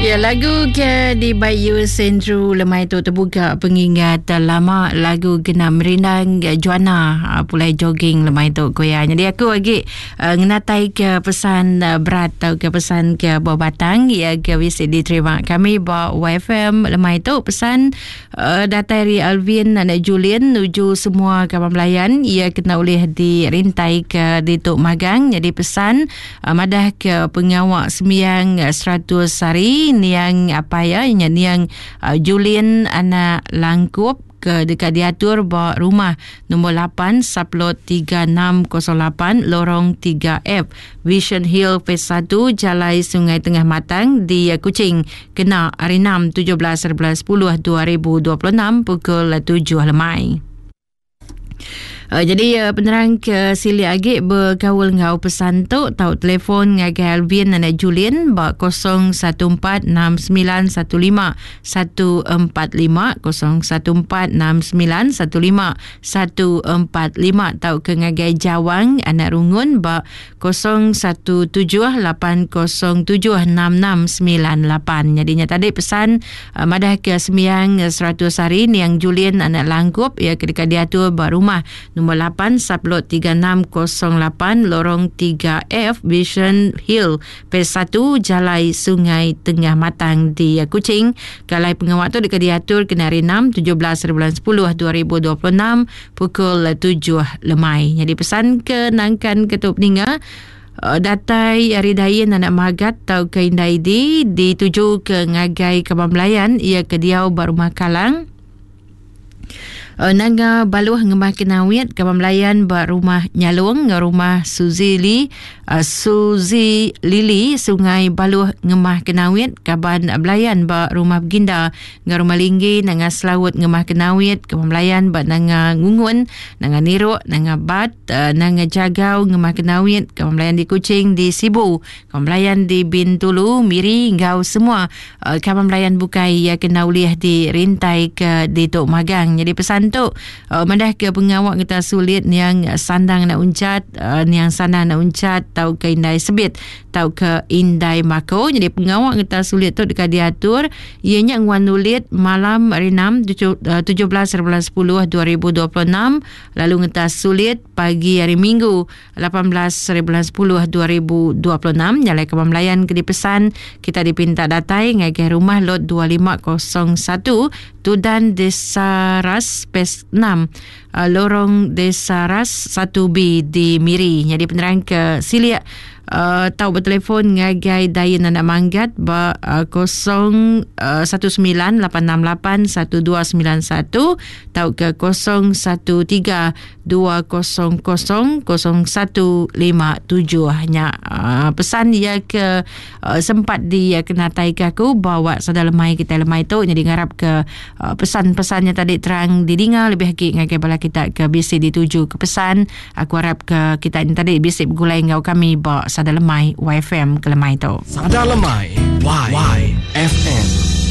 Ya lagu ke di Bayu Sendru lemai tu terbuka pengingat lama lagu kena merindang Joanna ah, pulai jogging lemai tu ko ya. Jadi aku lagi uh, ngenatai ke pesan uh, berat atau ke pesan ke buah batang ya ke bisi diterima kami ba YFM lemai tu pesan Uh, datai ari Alvin anak Julian nuju semua kaban belayan ia kena ulih dirintai ke ditu magang jadi pesan uh, madah ke pengawa sembiang 100 hari niang apa ya nya niang uh, Julian anak Langkup ke deka diatur ba rumah nombor 8 sublot 3608 lorong 3F Vision Hill Phase 1 Jalai Sungai Tengah Matang di Kuching Kena hari 6 17 bulan 10 2026 pukul 7 lemai. Uh, jadi uh, penerang ke silik agi berkaul ngau pesan tu tau telefon ngagai Alvin anak Julian ba 0146915145 0146915145 tau ke ngagai Jawang anak Rungun ba 0178076698. Jadi nya tadi pesan uh, madah ke sembiang 100 hari niang Julian anak Langkup ia ke deka diatur ba rumah nombor 8 sublot 3608 lorong 3F Vision Hill Phase 1 Jalai Sungai Tengah Matang di Kuching. Kalai pengawak tu deka diatur kena hari 6 17 bulan 10 2026 pukul 7 lemai. Nyadi pesan ke nangkan ke tu peninga uh, datai ari Dain anak Magat tau ke Indai Di dituju ke ngagai Kaban Belayan ia ke diau ba rumah Kalang. Uh, nanga Baluh Ngemah Kenawit Kaban Belayan ba rumah Nyalung enggau rumah Suzy Lee uh, Suzy Lily Sungai Baluh Ngemah Kenawit Kaban Belayan ba rumah Beginda Enggau Rumah Linggi, Nanga Selaut Ngemah Kenawit, Kebun Belayan ba Nanga Ngungun, Nanga Niruk, Nanga Bat, Nanga Jagau Ngemah Kenawit, Kebun Belayan di Kuching, di Sibu, Kebun Belayan di Bintulu, Miri enggau semua kaban belayan bukai iya kena ulih dirintai ke ditu magang. Nyadi pesan tu madah ke pengawa kita sulit niang sandang anak uncat, niang sandang anak uncat tauka indai sebit tauka indai mako. Nyadi pengawa ngeta sulit tu deka diatur iya nya nguan ulit malam hari 6 17 bulan 10 2026 lalu ngeta sulit pagi hari Minggu 18 bulan 10 2026 nyalai kaban belayan ke dipesan kita dipinta datai ngagai rumah lot 2501 Tudan Desa Ras Phase 6 Lorong Desa Ras 1B di Miri. Nyadi penerang ke silik uh, tau bertelefon ngagai Dayen Anak Manggat ba uh, 019868 1291 tau ke 013 200 0157 nya uh, pesan ia ke uh, sempat di uh, kenatai ke aku bawa sada lemai kita lemai tu jadi ngarap ke uh, pesan-pesannya tadi terang didinga lebih agi ngagai bala kita ke bisi dituju ke pesan aku harap ke kita ni tadi bisi begulai enggau kami ba sada lemai YFM ke lemai tu. Sada lemai Y, Y FM.